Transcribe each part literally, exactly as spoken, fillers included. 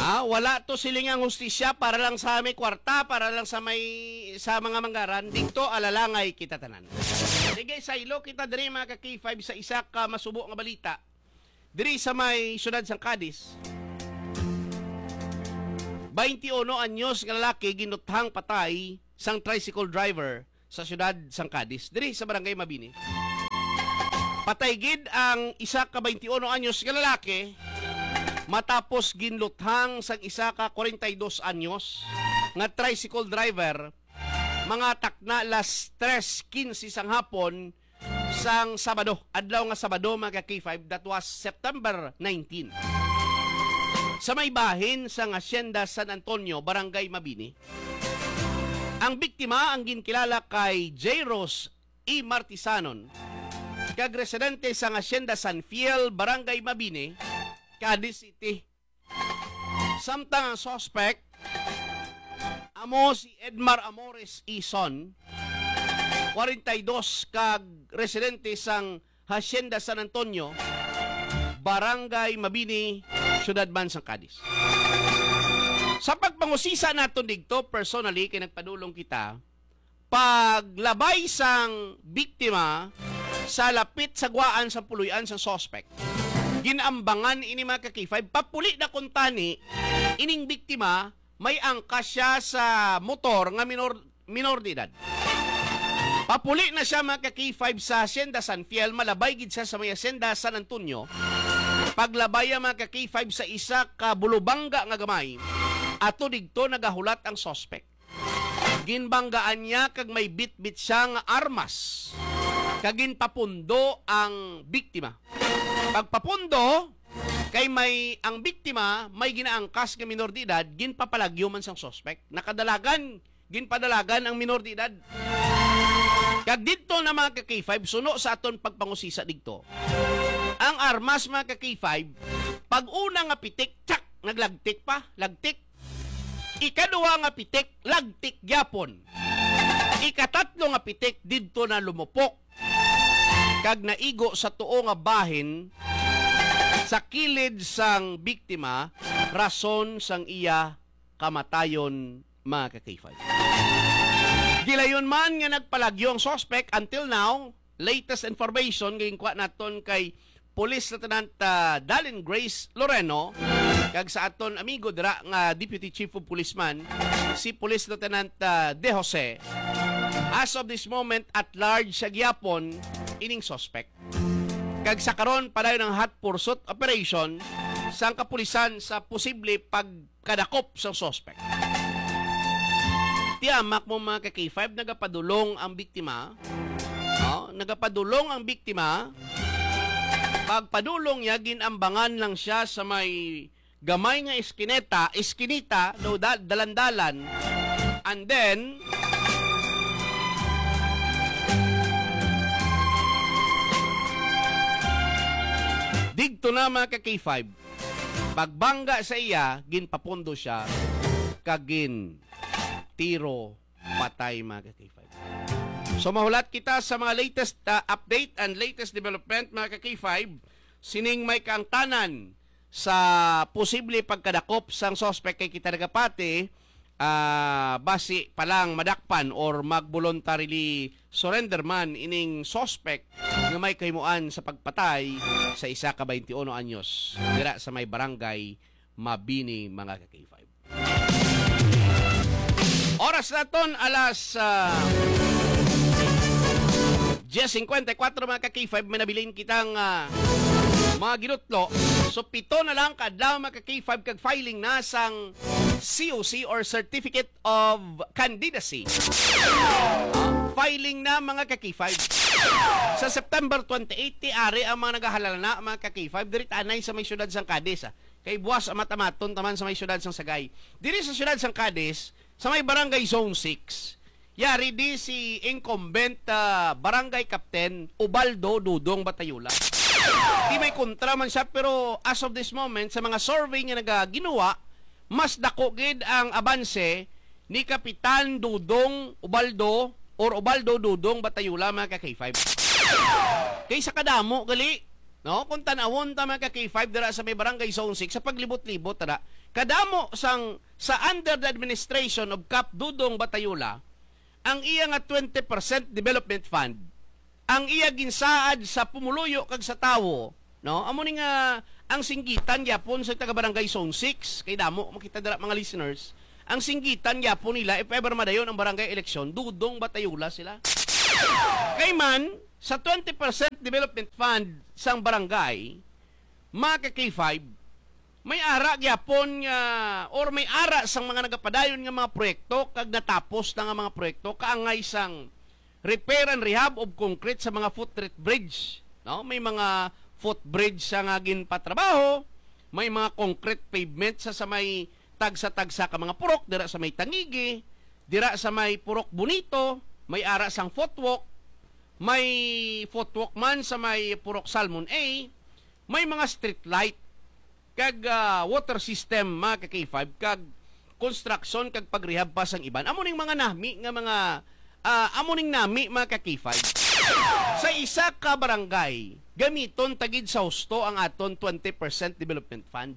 Ah, wala to siling ang hustisya para lang sa may kwarta, para lang sa may, sa mga manggaran. Dito, alalangay kita tanan. Sige, saylo kita diri, mga ka-K five, sa isa ka masubo nga balita. Diri sa may siyudad sang Cadiz, twenty-one anyos nga lalaki ginuthang patay sang tricycle driver sa siyudad sang Cadiz, diri sa Barangay Mabini. Patay gid ang isa ka twenty-one anyos nga lalaki matapos ginluthang sang isa ka forty-two anyos nga tricycle driver, mga takna las tres quince sang hapon sang Sabado, adlaw nga Sabado, mga ka-K five, that was September nineteen. Sa may bahin sang Hacienda San Antonio, Barangay Mabini, ang biktima ang ginkilala kay J Rose E Martisanon, kag residente sang Hacienda San Fiel, Barangay Mabini, Cadiz City. Samtang ang suspect amo si Edmar Amores Ison, forty-two, kag residente sang Hacienda San Antonio, Barangay Mabini, Siyudad man sang Cadiz. Sa pagpangusisa naton digto, personally, kay nagpadulong kita, paglabay sang biktima sa lapit sa guwaan sang puloy-an sang suspect. Ginambangan ini, mga ka-K five, papuli na kuntani ining biktima, may angkas siya sa motor nga minor, minor de edad. Papuli na siya, mga ka-K five, sa Hacienda San Fiel, malabay gid siya sa may Hacienda San Antonio. Paglabay ang, mga ka-K five, sa isa ka bulubangga nga gamay, ato digto nagahulat ang suspect. Ginbanggaan niya kag may bitbit siya nga armas, kag ginpapundo ang biktima. Pagpapundo, kay may, ang biktima may ginaangkas nga minor de edad, ginpapalagyo man sang suspect. Nakadalagan, ginpadalagan ang minor de edad. Kag didto na, mga ka-K five, suno sa aton pagpangusisa digto. Ang armas, mga ka-K five, pag una nga pitik, tsak, naglagtik pa, lagtik. Ikaduha nga pitik, lagtik gyapon. Ikatatlo nga pitik, didto na lumupok kag naigo sa tuo nga bahin sa kilid sang biktima, rason sang iya kamatayon, mga ka-K five. Gilayon man nga nagpalagyo ang suspect, until now, latest information nga ginkuha naton kay Police Lieutenant, ah, Dallin Grace Loreno, kag sa aton amigo dira nga Deputy Chief of Police man, si Police Lieutenant, ah, De Jose. As of this moment, at large sa gihapon ining suspect. Kag sa karon, padayon ang hot pursuit operation sang kapulisan sa posible pagkadakop sang suspect. Tiyamak mo, mga ka-K five, nagapadulong ang biktima. Oh, nagapadulong ang biktima. Pagpadulong niya, ginambangan lang siya sa may gamay nga iskineta, iskinita, no, da-, dalan-dalan. And then, digto na, mga ka-K five, pagbangga sa iya, ginpapundo siya kag gin tiro patay, mga ka-K five. So, mahulat kita sa mga latest, ah, update and latest development, mga ka-K five, sining may kaangtanan sa posible pagkadakop sang suspect, kay kita nagapati, ah, basi pa lang madakpan or mag-voluntarily surrender man ining suspect nga may kahimuan sa pagpatay sa isa ka twenty-one anyos dira sa may barangay Mabini, mga ka-K five. Oras naton alas, ah, diyes cincuenta y cuatro, mga ka-K five, may nabilin kitang, ah, mga ginutlo. So, pito na lang ka adlaw, mga ka-K five, kag filing na sang C O C or Certificate of Candidacy. Ah, filing na, mga ka-K five. Sa September twenty-eight, ti ari ang mga nagahalana, mga ka-K five, diri tanay sa may siyudad sang Cadiz, ah. Kay buwas amat-amaton taman sa may siyudad sang Sagay. Diri sa siyudad sang Cadiz, sa may Barangay Zone six, yari di si incumbent, ah, Barangay Captain Ubaldo Dudong Batayula. Di may kontra man siya, pero as of this moment, sa mga survey nga nagaginuwa, mas dako gid ang abanse ni Kapitan Dudong Ubaldo or Ubaldo Dudong Batayula, mga ka-K five. Kaysa kadamo, gali, No? Kung tanawon ta, mga ka-K five, dira sa may Barangay Zone six, sa paglibot-libot, tara, kadamo sang, sa under the administration of Kap Dodong Batayula, ang iya nga twenty percent development fund, ang iya ginsaad sa pumuluyo kag sa tawo, no? Amo ni nga ang singgitan gyapon sa taga Barangay Zone six, kay damo makita dira, mga listeners, ang singgitan gyapon nila, if ever madayon ang barangay election, Dodong Batayula sila. Kay man, sa twenty percent development fund sang barangay, mga ka-K five, may ara gyapon nga, or may ara sang mga nagapadayon nga mga proyekto, kag natapos na nga mga proyekto, kaangay sang repair and rehab of concrete sa mga footbridge, no? May mga footbridge sa nga ginpatrabaho, may mga concrete pavement sa, sa may tagsa-tagsa ka mga purok, dira sa may Tangigi, dira sa may Purok Bonito, may ara sang footwalk, may footwalk man sa may Purok Salmon A, may mga street light, kag, ah, water system, mga ka-K five, kag construction kag pagrehab pa sang iban. Amo ning mga nami nga mga, ah, amo ning nami, mga ka-K five. Sa isa ka barangay, gamiton ta gid sa husto ang aton twenty percent development fund.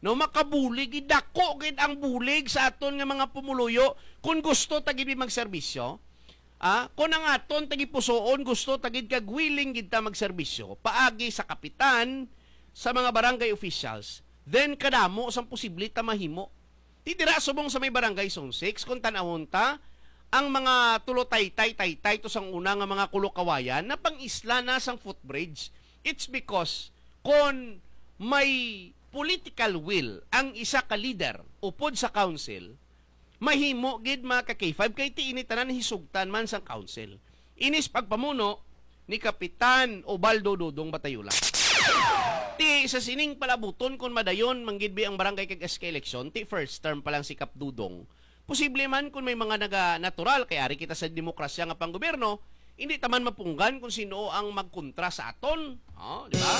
No, makabulig gid, dako gid ang bulig sa aton nga mga pumuluyo kung gusto ta gid magserbisyo. Ah, kung ang aton tagipusoon gusto ta gid kag willing gid ta magserbisyo paagi sa kapitan, sa mga barangay officials, then kadamo sang posible ta mahimo. Ti dira subong sa may Barangay Zone six, kung tan-awon ta, ang mga tulo taytay-taytay to sang una nga mga kulokawayan na pang-isla na sang footbridge. It's because kon may political will ang isa ka leader upod sa council, mahimo gid, mga ka-K five, kay ti ini tanan hisugtan man sang council. Inis pagpamuno ni Kapitan Ubaldo Dodong Batayula. Ti sa sining palabuton, kun madayon man gid bi ang barangay kag S K election, ti first term pa lang si Kap Dodong. Posible man kun may mga naga natural, kay ari kita sa demokrasya nga panggobyerno, hindi ta man mapunggan kung sino ang magkontra sa aton. Oh, di ba?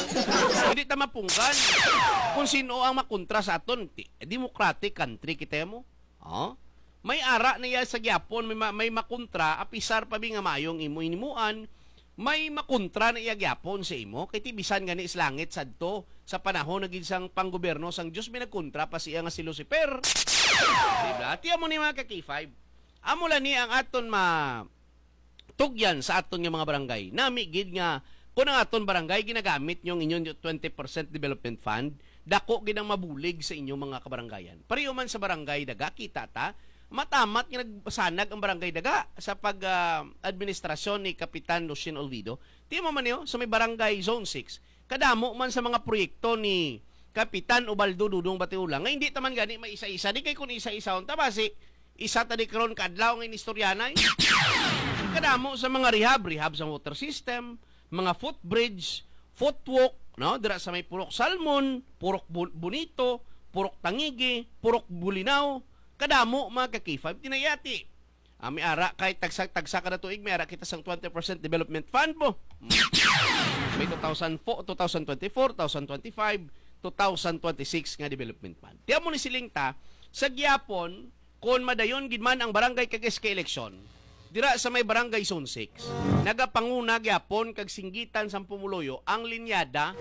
Hindi ta mapunggan kung sino ang makontra sa aton. Ti-, democratic country kita mo. Oh? May ara na iya sa gyapon, may ma-, may makontra, apisar pa bi nga mayong imo hinimuan, may makontra na iya gyapon sa imo. Kay ti bisan gani sa langit sadto, sa panahon na gid sang panggobyerno sang Dios, may nagkontra pa siya nga si Lucifer. Di ba? Ti amo ni, mga ka-K five. Amo lang ni ang aton ma-, tugyan sa aton nga mga barangay. Nami gid nga kung ang aton barangay ginagamit nyo ang inyong twenty percent development fund, dako gid ang mabulig sa inyong mga kabarangayan. Pareho man sa barangay Daga, kita ta, matamat nga nagsanag ang barangay Daga sa pag, ah, administrasyon ni Kapitan Lucien Olvido. Ti mo man niyo, sa may barangay Zone six, kadamo man sa mga proyekto ni Kapitan Ubaldo Dodong Batiola nga hindi ta man gani maisa-isa. Di kay kung isa-isahon ta, basi isa ta di karon kadlaw nga inistoryanay. Kadamo sa mga rehab, rehab sa water system, mga footbridge, footwalk, no? Dira sa may Purok Salmon, Purok Bu-, Bonito, Purok Tangigi, Purok Bulinaw, kadamo, mga ka-K five, tinayati. Ah, may ara kay tagsa-tagsa kada tuig, may ara kita sang twenty percent development fund mo. May two thousand four, two thousand twenty-four, two thousand twenty-five, two thousand twenty-six nga development fund. Tiyan mo ni siling ta, sa gyapon, kon madayon gid man ang barangay kag S K election, dira sa may barangay Zone six, nagapanguna gyapon kag singgitan sang pumuluyo ang linyada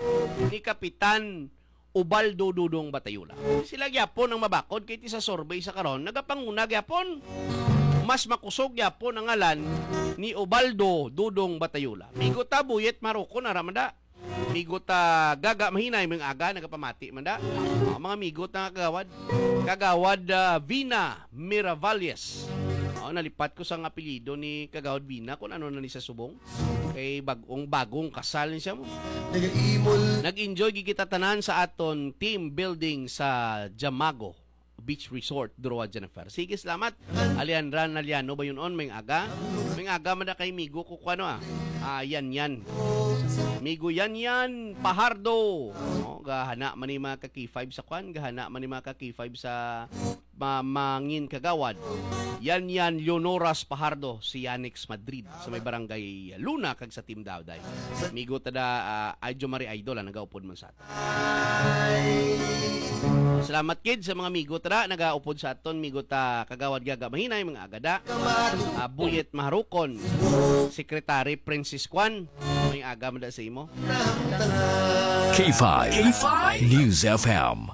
ni Kapitan Ubaldo Dodong Batayula. Sila gyapon ang mabakod kay ti sa survey sa karon, nagapanguna gyapon. Mas makusog gyapon ang ngalan ni Ubaldo Dodong Batayula. Migo ta, Buyet Marukon, ara man da. Migo ta, Gaga Mahinay, mga aga, nagapamati man da. Oh, mga migo ta nga kagawad. Kagawad, ah, Vina Miravalles. Oh, nalipat ko sa nga apelyido ni Kagawad Vina kung ano na ni sa subong. Kay bag-ong, bagong kasal ni siya mo. Nag-enjoy gid kita tanan sa aton team building sa Jamago Beach Resort, Doroa, Jennifer. Sige, salamat. Alejandra Naliano ba yun on? May aga? May aga man na kay migo ko, kuno, ah. Ah, yan, yan. Migo yan, yan. Pahardo. Oh, gahana man ni mga ka-K five sa kwan. Gahana man ni mga ka-K five sa ma-, mangin kagawad. Yan, yan, Leonoras Pahardo, si Yanix Madrid, sa may barangay Luna, kag sa Team Dawday. Migo ta da, ah, Idol Mari Idol, ah, nagaupod man sa aton. Salamat kid sa mga migo ta da, nagaupod sa aton, migo ta Kagawad Gaga Mahinay, mga agada. Ah, Buyet Maharukon, Secretary Princess Kwan, Ning aga man da sa imo. K five. K five. News F M.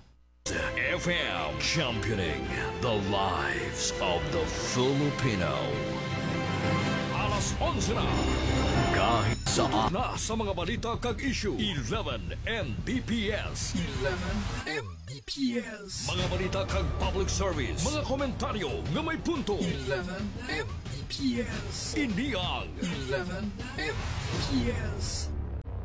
F M, championing the lives of the Filipino. Alas onse na. Kahit sa na sa mga balita kag issue, eleven M B P S. eleven M B P S. Mga balita kag public service. Mga komentaryo nga may punto. eleven M B P S. Ini ang eleven M B P S.